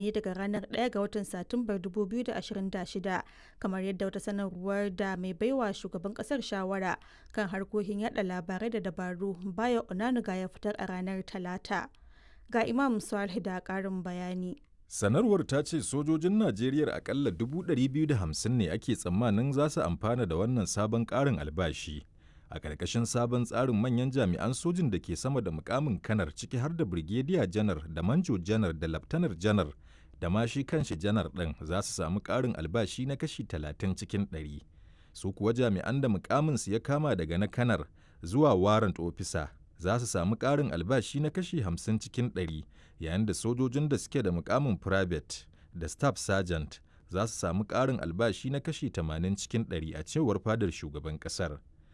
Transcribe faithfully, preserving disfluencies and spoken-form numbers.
ne daga ranar ɗaya ga watan Satumbar dubu biyu da ashirin da shida, kamar yadda wata sanarwar da mai baiwa shugaban kasar shawara kan harkokin yada labarai da dabaru, Bayo Onanuga, ya fitar a ranar Talata. Ga Imam Saleh da ƙarin bayani. Sanarwar ta ce sojojin Najeriya akalla dubu ɗari biyu da hamsin ne ake tsammanin za su amfana da wannan sabon ƙarin albashi. A ƙarƙashin sabon tsarin, manyan jami'an sojin da ke sama da mukamin kanar, ciki har da Birgediya Janar da Manjo Janar da Laftanar Janar da ma shi kanshi Janar ɗin, za su samu ƙarin albashi na kashi talatin cikin ɗari. Su kuwa jami'an da mukaminsu ya kama daga na kanar zuwa warrant officer za su samu ƙarin albashi na kashi hamsin cikin ɗari, yayin da sojojin da suke da mukamin private da staff sergeant za su samu ƙarin albashi na kashi tamanin cikin ɗari, a cewar fadar shugaban ƙasar.